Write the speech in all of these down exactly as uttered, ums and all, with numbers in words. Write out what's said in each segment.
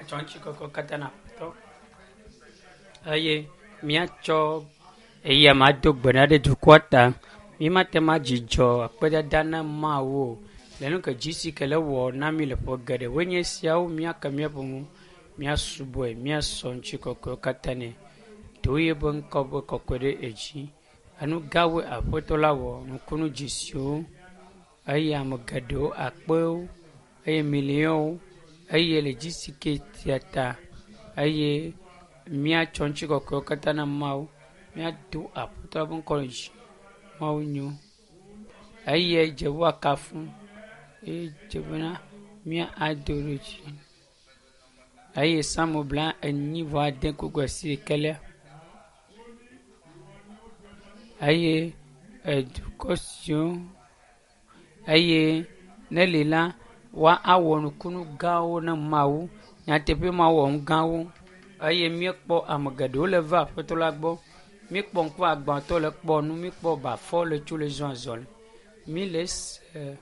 Míatsɔ ŋutikɔkɔe katã na Aƒetɔ eye míatsɔ eya ma do gbe ɖa ɖe dukɔa ta. Mímate ŋu adzudzɔ akpedada na Mawu o. Le nu ke dzi si ke le wɔ na mí le ƒe geɖewoe nye esiawo míake míaƒe nu, míasubɔe, míasɔ ŋutikɔkɔewo katã nɛ. Do yeƒe ŋkɔ be kɔkɔe ɖe edzi. Enu gãwoe Aƒetɔ la wɔ, nukunu dzesiwo eye ame geɖewo akpewo eye miliɔnwo eye le dzi si ke sia ta eye míatsɔ ŋutikɔkɔewo katã na Mawu. Míado Aƒetɔ la ƒe ŋkɔ ɖe dzi. Mawu nyo eye dze woakafu eye dze bena míado ɖe dzi. Eye Psalmo bla enyi vɔ ade kpukpui asiɖekɛlia eye edukɔ siwo eye ne li la woawɔ nukunu gãwo na Mawu. Nyateƒe Mawu wɔ nu gãwo eye míekpɔ ame geɖewo le va Aƒetɔ la gbɔ. Míekpɔ ŋkuagbãtɔ le kpɔ nu, míekpɔ bafɔ le tso le zɔ azɔli. Míle se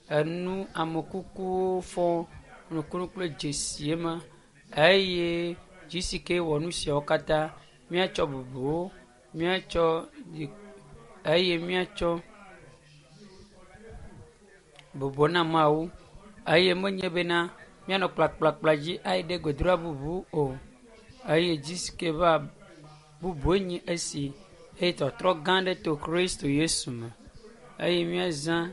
enu amekukuwo fɔ nukunu kple dzesie ma eye dzi si ke wɔ nu siawo katã míatsɔ bubuwo, míatsɔ eye míatsɔ bubu na Mawu eye menye bena míanɔ kplakplakpla dzi ayi ɖe gbedoɖa bubu o eye dzi si ke va bubue nye esi eye tɔtrɔ gã aɖe to Kristo Yesu me eye míazã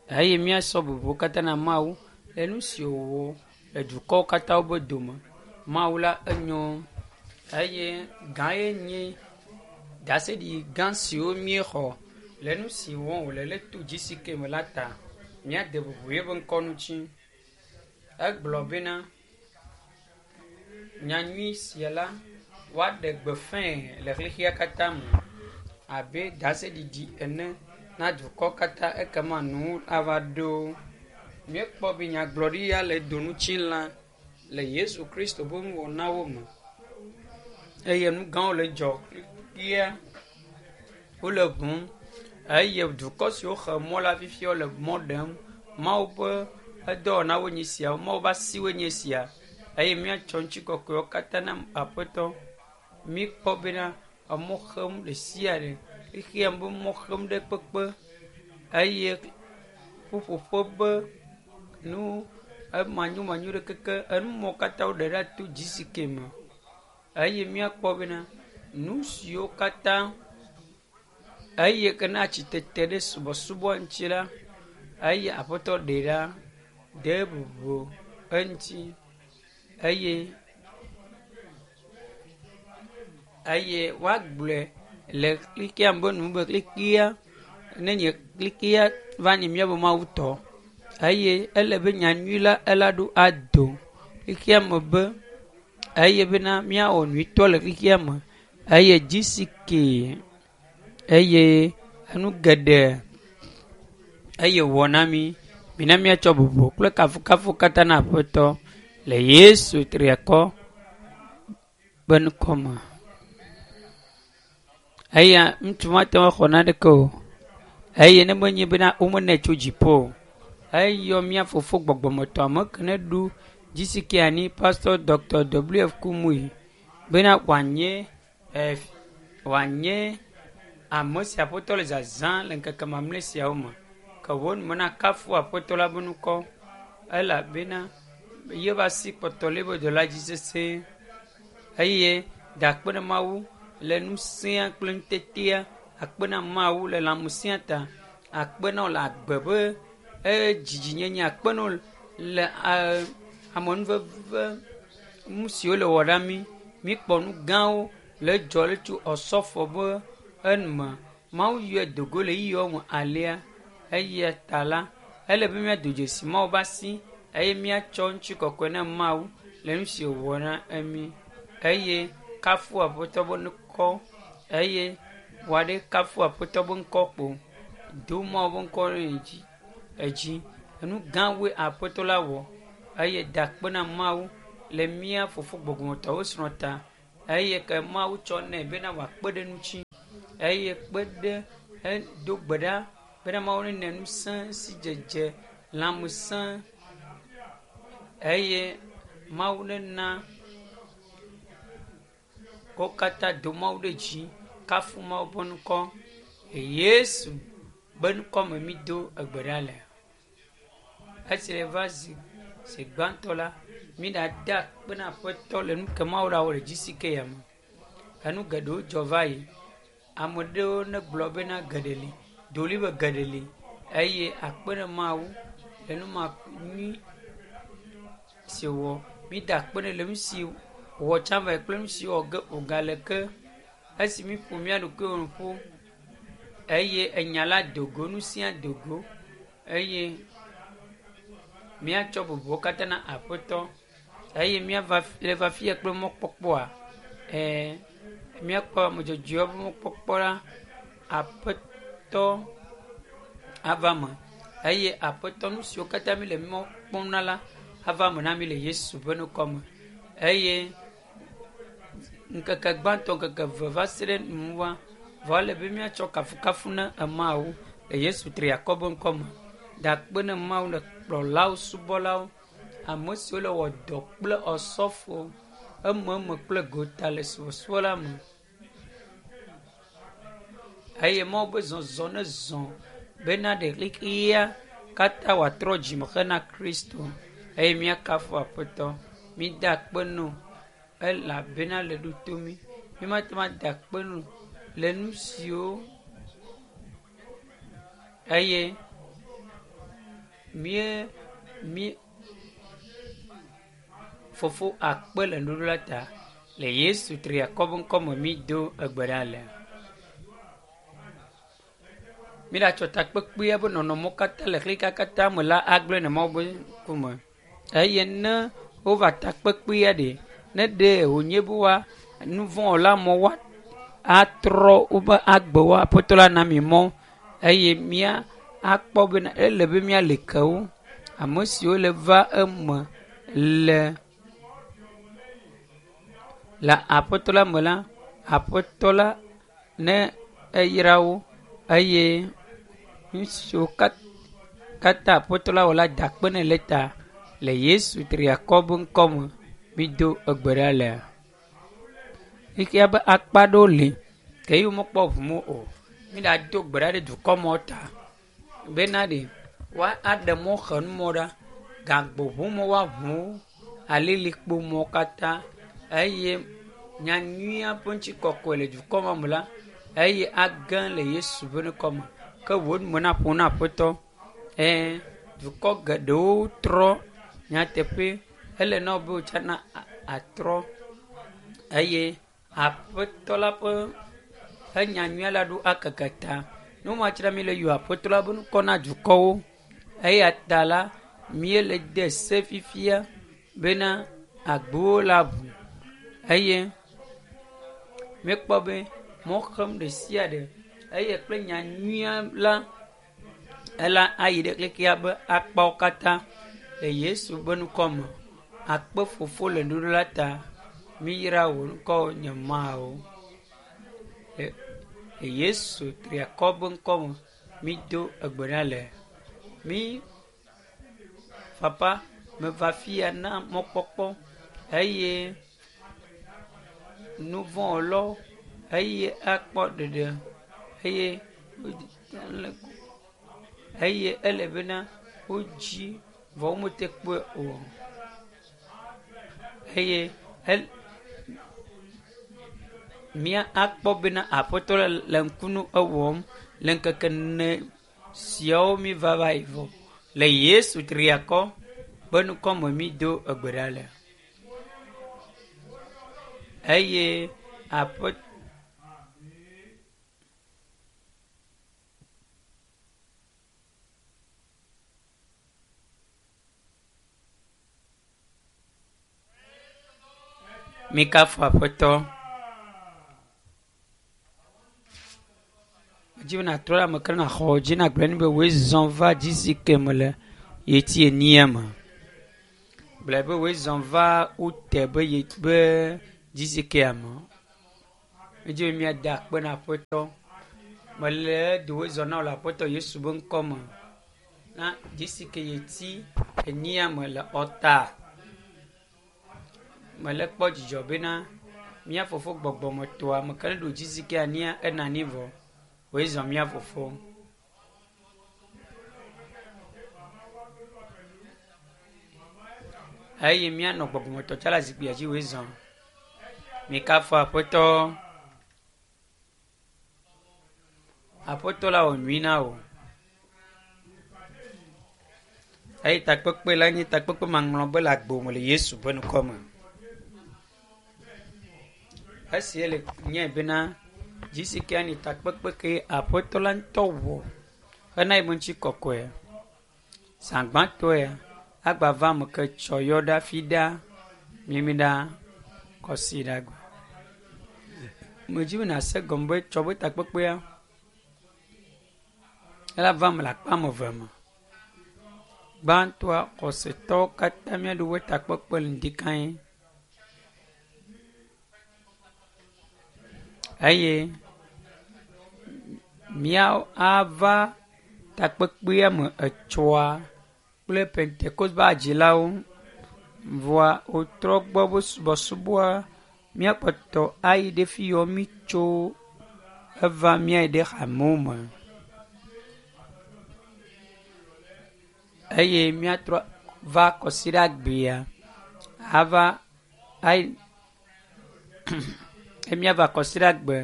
eye míasɔ bubu katã na Mawu le nu si wòwɔ le dukɔwo katã be dome. Mawu la enyo eye gã ye nye ɖaseɖiɖi gã siwo míexɔ le nu si wɔm wòle le to dzi si ke me la ta. Míade bubu yeƒe ŋkɔ ŋuti. Egblɔ bena nyanyui sia la woaɖe gbeƒãe le xexea katã me abe ɖaseɖiɖi ene na dukɔ katã ekema nu ava ɖo. Míekpɔ be nyagblɔɖi ya le doŋutsilã le Yesu Kristo ƒe nuwɔnawo me eye nu gãwo le dzɔ fifia wole ʋum eye dukɔ siwo xe mɔ la fifia wole mɔ ɖem. Mawu ƒe edɔwɔnawo nye esiawo, Mawu ƒe asiwoe nye esia eye míatsɔ ŋutikɔkɔewo katã na Aƒetɔ. Míekpɔ bena emɔ xem ɖe sia ɖe, xexea me be mɔ xem ɖe kpekpe eye ƒuƒoƒe be nu emanyomanyo ɖe keke enumɔwo katã woɖe ɖa to dzi si ke me eye míakpɔ bena nu siwo katã eye ke na tsitete ɖe subɔsubɔ ŋuti la eye Aƒetɔ ɖe ɖa de bubu eŋuti eye eye woagblɔe le xexea me be nu be xexea nenye xexea va nye míaƒe Mawu tɔ eye ele be nyanyui la ela ɖo ado xexea me be eye bena míawɔ nyuitɔ le xexea me eye dzi si ke eye enu geɖe eye wɔ na mí. Mina míatsɔ bubu kple kafukafu katã na Aƒetɔ le Yesu triakɔ ƒe ŋkɔ me. Eya ŋutsu mate ŋu axɔ naneke o eye ne menye bena womenɛ tso dziƒo o. Eyɔ mía fofo gbɔgbɔmetɔ ame ke ne ɖu dzi si ke anyi Pastor Dr. W F Kumuyi bena wòanye eh, wòanye ame si Aƒetɔ le zazã le ŋkeke mamlɛ siawo me. Ke wo nu mena kafu Aƒetɔ la ƒe ŋkɔ elabena yeƒe asi kpɔtɔ le eƒe dɔla dzi sesẽ eye da akpe na Mawu le ŋusẽa kple ŋutetea, akpe na Mawu le lãmesẽa ta, akpe na wo le agbe ƒe edzinyenye, akpe na wo le amenuveve nu siwo le wɔ na mí. Míekpɔ nu gãwo le dzɔ le tso ɔsɔfo be enume. Mawu yɔe do go le ɣeyiɣiwo me alea eya ta la ele be míado dzesi Mawu ƒe asi eye míatsɔ ŋutikɔkɔe na Mawu le nu si wòwɔ na mí eye kafu Aƒetɔ ƒe ŋkɔ eye wòaɖe kafu Aƒetɔ ƒe ŋkɔ kpo. Do Mawu ƒe ŋkɔ ɖe dzi edzi. Enu gãwoe Aƒetɔ la wɔ eye da akpe na Mawu le mía fofo gbɔgbɔmetɔwo srɔ̃ ta eye ke Mawu tsɔ nɛ bena wòakpe ɖe ŋuti eye kpe ɖe edo gbe ɖa bena Mawu nene ŋusẽ si dzedze lãmesẽ eye Mawu nena wo katã do Mawu ɖe dzi kafu Mawu ƒe ŋkɔ. Yesu be ŋkɔme mi do egbe ɖa le. Esi le va zi zi gbãtɔ la, mi ɖa da akpe na Aƒetɔ le nu ke Mawu ɖawɔ le G C K ya me. Enu geɖewo dzɔ va yi. Ame ɖewo ne gblɔ bena geɖe li, doli be geɖe li eye akpe ɖe Mawu le nu ma nyui si wòwɔ. Mi da akpe nɛ le nu si wòwɔ tsã va yi kple nu si wɔ ge wògale ke. Esi mi ƒo mía ɖokuiwo ƒu eye enya la do go, nu sia do go eye míatsɔ bubuwo katã na Aƒetɔ eye míava le va fia kple mɔkpɔkpɔa. Ɛɛ míakpɔ ame dzɔdzɔewo ƒe mɔkpɔkpɔ la, Aƒetɔ ava me eye Aƒetɔ nu siwo katã mi le mɔ kpɔm na la ava me na mi le Yesu ƒe ŋkɔ me. Eye ŋkeke gbãtɔ, ŋkeke eve va se ɖe nuwua, vɔ ele be míatsɔ kafukafu na Mawu le Yesu triakɔ ƒe ŋkɔ me. Da akpe na Mawu le kplɔlawo, subɔlawo, ame siwo le wɔ dɔ kple osɔfo ememe kple gota le subɔsubɔ la me. Eye Mawu be zɔzɔ ne zɔ bena ɖe xexea katã wòatrɔ dzime hena Kristo eye míakafu Aƒetɔ. Mida akpe nɛ elabena le ɖo to mí. Mímate ŋu ada akpe nɛ le nu siwo eye mí mí fofo akpe le nuɖuɖu la ta le Yesu triakɔ ƒe ŋkɔme mi do egbe ɖa le. Mi ɖatsɔ takpekpea ƒe nɔnɔmewo katã le xexea katã me la agblẽ le Mawu ƒe ŋkume. Eye ne wova takpekpea ɖe, ne ɖe wònye be woa nu vɔ̃ wɔla mɔ woa atrɔ woƒe agbewo Aƒetɔ la na mi mɔ eye mía akpɔ bena ele be míali ke wo. Ame siwo le va eme le le Aƒetɔ la me la, Aƒetɔ la ne eyra wo eye nu siwo katã Aƒetɔ la wɔ la da akpe nɛ le ta le Yesu triakɔ ƒe ŋkɔme mi do egbe ɖa le. Xexea ƒe akpa ɖewo li ke ye womekpɔ ʋume o. Mi ɖa do gbe ɖa ɖe dukɔmewo ta bena ɖe woa aɖe mɔxenumɔ ɖa, gagboʋumɔ woaʋu alilikpomɔ katã eye nyanyuia ƒe ŋutikɔkɔe le dukɔ me la eye age le Yesu ƒe ŋkɔme. Ke wò nume naƒo na Aƒetɔ. Ɛɛ dukɔ geɖewo trɔ nyateƒe ele na wo be wotsana atrɔ eye Aƒetɔ la ƒe enyanyuia la ɖo akeke ta. Nu ma tsra mi le yɔ Aƒetɔ la ƒe ŋkɔ na dukɔwo. Eya ta la míele de se fifia bena agbowo la ʋu eye míekpɔ be mɔxem ɖe sia ɖe eye kple nyanyuia la ela ayi ɖe xexea ƒe akpawo katã le Yesu ƒe ŋkɔ me. Akpe fofo le nuɖuɖu la ta. Miyra wò ŋkɔ nye Mawu. Le Yesu triakɔ ƒe ŋkɔ me mi do egbe ɖa le. Mi papa meva fia na mɔkpɔkpɔ eye nu vɔ̃ wɔlawo eye akpɔ ɖeɖe eye eye ele bena wodzi vɔ womete kpɔe o. Eye el mía akpɔ bena Aƒetɔ la le ŋkunu ewɔm le ŋkeke ene siawo mi va va yi vɔ. Le Yesu triakɔ ƒe ŋkɔme mi do egbe ɖa le. Eye Aƒe Mikafu Aƒetɔ. Medzi be nàtrɔ ɖe ame ke nàxɔ dzi nagblɔ nɛ be wòe zɔ va G C K me le ɣleti enyia me. Gblɔe be wòe zɔ va ute be ye be G C K me. Medzi be míada akpe na Aƒetɔ. Mele do wòe zɔ na wò le Aƒetɔ Yesu ƒe ŋkɔ me. Na G C K ɣleti enyia me le Ɔta. Mele kpɔ dzidzɔ bena mía fofo gbɔgbɔmetɔa me ke ɖo dzisi ke ania ena ni vɔ. Woe zɔ mía fofo. Eye míanɔ gbɔgbɔmetɔ tsa le zikpuia dzi woe zɔ. Mikafu aƒetɔ. Aƒetɔ la wɔ nyui na wò. Eye takpekpe la nye takpekpe maŋlɔ be le agbo me le Yesu ƒe ŋkɔ me. Esi ele nye bena dzisi ke ani takpekpe ke aƒetɔ la ŋutɔ wɔ hena yi ŋuti kɔkɔe. Zãgbãtɔe agbava me ke tsɔ yɔ ɖa fi ɖa mimi ɖa kɔsi ɖa gbe. Medzi be nase gɔme be tsɔ be takpekpea ela va me le akpa ame eve me. Gbãtɔa xɔsetɔwo katã míaɖo woƒe takpekpe le ŋdi kãe. Eye míawo ava takpekpea me etsɔa kple Pentekoste ƒe adzilawo vɔa wotrɔ gbɔ be subɔsubɔa míakpɔtɔ ayi ɖe fi yɔ mí tso eva míayi ɖe hamewo me. Eye míatrɔ va kɔsiɖagbea ava ayi eye míava kɔsiɖagbe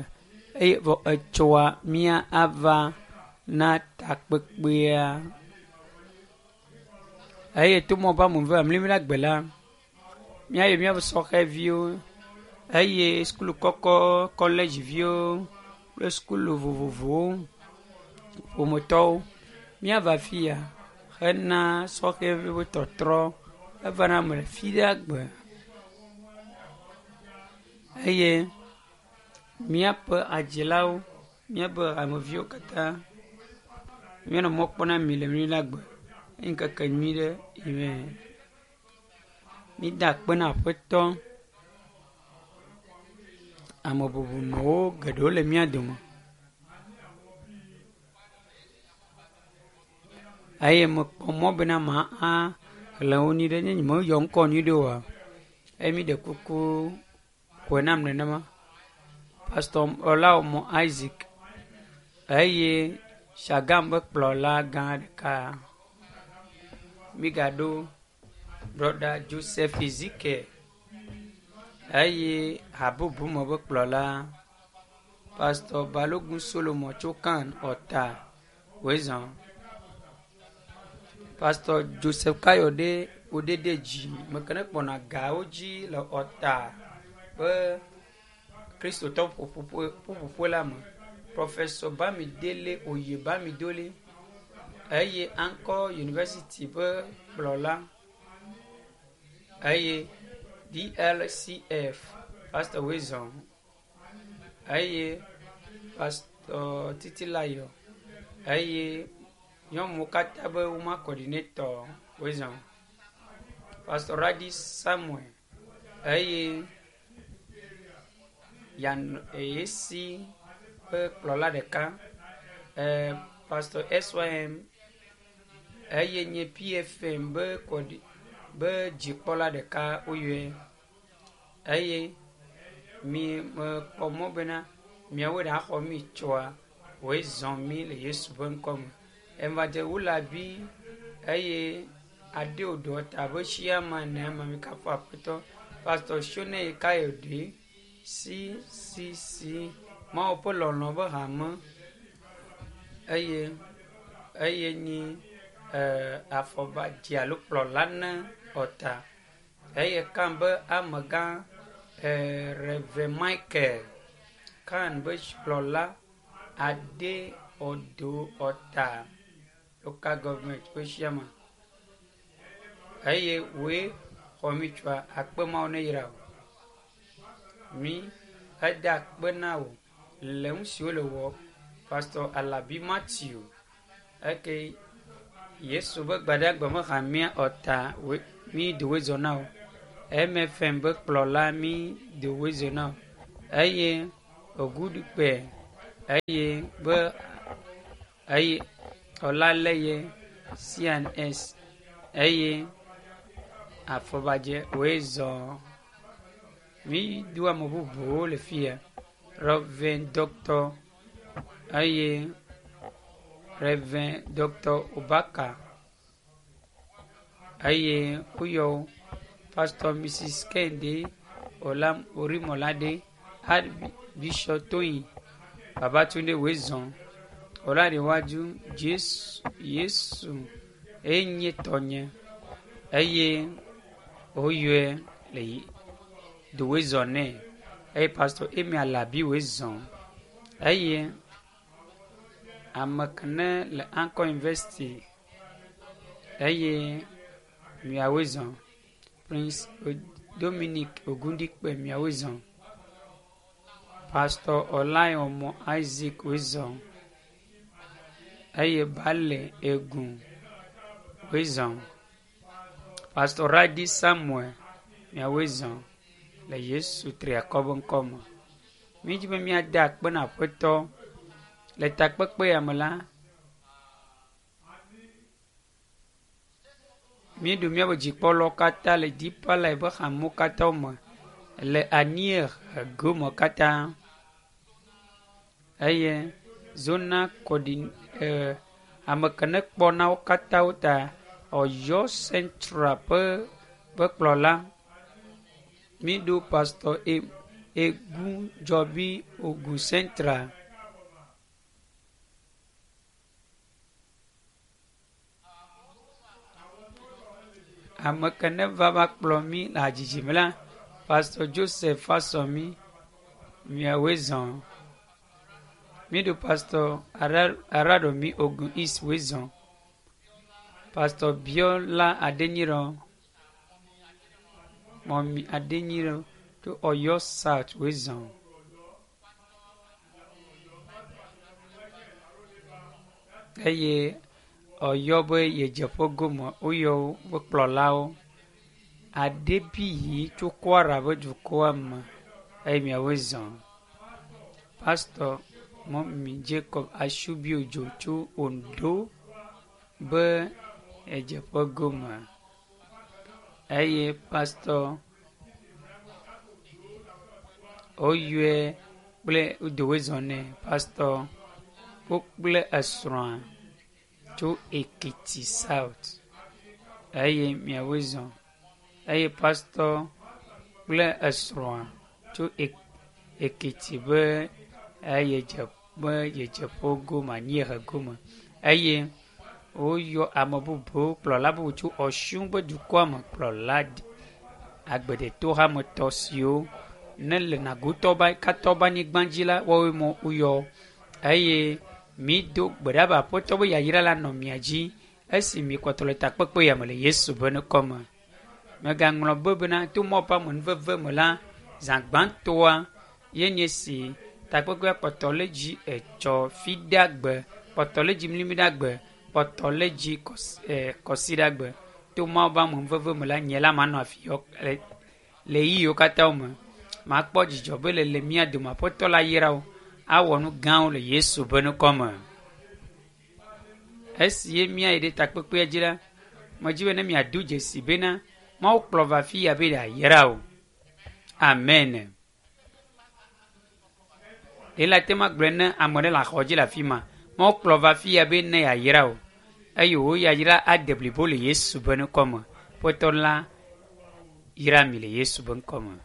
eye vɔ etsɔa mía ava na takpekpea. Eye to mɔ be ame eve amlimlaɖagbe la míayi míaƒe sɔhɛviwo eye sukulu kɔkɔ kɔledziviwo kple sukulu vovovowo ƒometɔwo míava fi ya hena sɔhɛviwo tɔtrɔ evana me le fi ɖe gbe eye míaƒe adzilawo míaƒe hameviwo katã míanɔ mɔ kpɔm na mi le mlimlagbe ŋkeke nyui ɖe amen. Mída akpe na aƒetɔ. Ame bubumewo geɖewo le mía dome. Eye mekpɔ mɔ bena ma axlẽ wo nyuie ɖe ne nyemeyɔ ŋkɔ nyuie ɖe oa eye mi ɖe kuku ƒoe nam nenema. Pastor Olaomo Isaac eye Shagam ƒe kplɔla gã ɖeka. Migaɖo brɔda Joseph Ezekiel eye habubume ƒe kplɔla Pastor Balogun Solomon tso Kan Ɔta Wezɔ. Pastor Joseph Kayode Odedeji meke ne kpɔna gawo dzi le Ɔta ƒe kristotɔ ƒuƒoƒo la me. Professor Bamidele Oye Bamidele eye Anchor University ƒe kplɔla eye DLCF Pastor Wezɔ eye Pastor Titilayo eye nyɔnuwo katã be woman coordinator Wezɔ. Pastor Radi Samuel eye Yan Esi ƒe kplɔla ɖeka eh, Pastor SYM eye nye PFM be kɔdi be dzikpɔla ɖeka woyɔe eye mi mekpɔ mɔ bena miawoe ɖe axɔ mi tsoa woe zɔ mi le Yesu ƒe ŋkɔ me. Evadze Wulabi eye Adeodo ta be Shiama ne ma mi kafu aƒetɔ Pastor Shone Kayode CCC Mawu ƒe lɔlɔ ƒe hame eye eye nyi eh, afɔbadzi alo kplɔla ne ɔta eye kan be amegã eh, Rev Michael kan be kplɔla Ade Odo Ɔta local government ƒe shiama eye woe xɔ mi tsoa akpe mawo ne yra o. Mi eda akpe na wò le nu siwo le wɔ Pastor Alabi Matthew eke Yesu ƒe gbadagbe me hamea ɔta mi do zɔ na wò. MFM ƒe kplɔla mi do zɔ na wò eye Ogudukpe eye be eye Ɔlaleye CNS eye afɔbadze woe zɔ. Mi do ame bubuwo le fia. Reverend Doctor eye Reverend Doctor Obaka eye woyɔ Pastor Mrs Kende Olam Orimolade Archbishop Toyin Babatunde Wezon Olarewaju Jesu Yesu enye tɔnye eye woyɔe le do wezɔ nɛ eye Pastor Emi Alabi wezɔn eye ame ke ne le Anchor University eye miawoe zɔn Prince Dominic Ogundikpe miawoe zɔn Pastor Olayomo Isaac woe zɔn eye Bale Egun woe zɔn Pastor Radi Samuel miawoe zɔn le Yesu triakɔ be ŋkɔ me. Mídzi be míade akpe na Aƒetɔ le takpekpe ya me la míeɖo míaƒe dzikpɔlawo katã le Deeper Life ƒe hamewo katã me le anyiehe gome katã eye zona kɔdi eh, ame ke ne kpɔna wo katã wo ta Ɔyɔ Central ƒe ƒe kplɔla míɖo Pastor e Egunjɔbi Ogun Central. Ame ke ne va va kplɔ mí le hadzidzi me la, Pastor Joseph Fasomi miawoe zɔn. Míɖo Pastor Aradomi Ogun East woe zɔn. Pastor Biola Adenyirɔ Mɔmi Adenyirɔ tso Ɔyɔ South woe zɔn. Eye Ɔyɔ be yedzeƒe gome woyɔ woƒe kplɔlawo. Adebiyi tso Kwara ƒe dukɔa me eye miawoe zɔn. Pastor Mɔmi Jacob Asubiodzo tso Ondo be yedzeƒe gome eye Pastor woyɔe kple wodowoe zɔ nɛ Pastor wo kple esrɔ̃a tso Ekiti South eye miawoe zɔ eye Pastor kple esrɔ̃a tso Ekiti be eye dze be yedzeƒe gome anyiehe gome eye woyɔ ame bubuwo kplɔla bubu tso Ɔsun ƒe dukɔa me kplɔla agbedetohametɔ siwo ne le Nagotɔ katã be anyigba dzi la woawoe mɔ woyɔ eye mído gbe ɖa be Aƒetɔ be yayra la nɔ mia dzi esi mikpɔtɔ le takpekpe ya me le Yesu ƒe ŋkɔ me. Megaŋlɔ be bena to Mawu ƒe amenuveve me la zã gbãtɔa ye nye si takpekpea kpɔtɔ le dzi etsɔ fiɖagbe kpɔtɔ le dzi mlimɖagbe kpɔtɔ le dzi kɔsiɖagbe to Mawu ƒe amenuveve me la nye la manɔ afi yɔ le le ɣeyiɣiwo katã me. Makpɔ dzidzɔ be le le mía dome Aƒetɔ la yra wo awɔ nu gãwo le Yesu ƒe ŋkɔ me. Esi ye míayi ɖe takpekpea dzi la, medzi be ne miado dzesi bena Mawu kplɔ va afi ya be yeayra wo. Amen. Ɖe la te ma gblɔe ne ame ɖe le axɔ dzi le afi ma. Mawu kplɔ va afi ya be ne yeayra wo eye wò yayra ade blibo le Yesu ƒe ŋkɔ me. Aƒetɔ la yra mi le Yesu ƒe ŋkɔ me.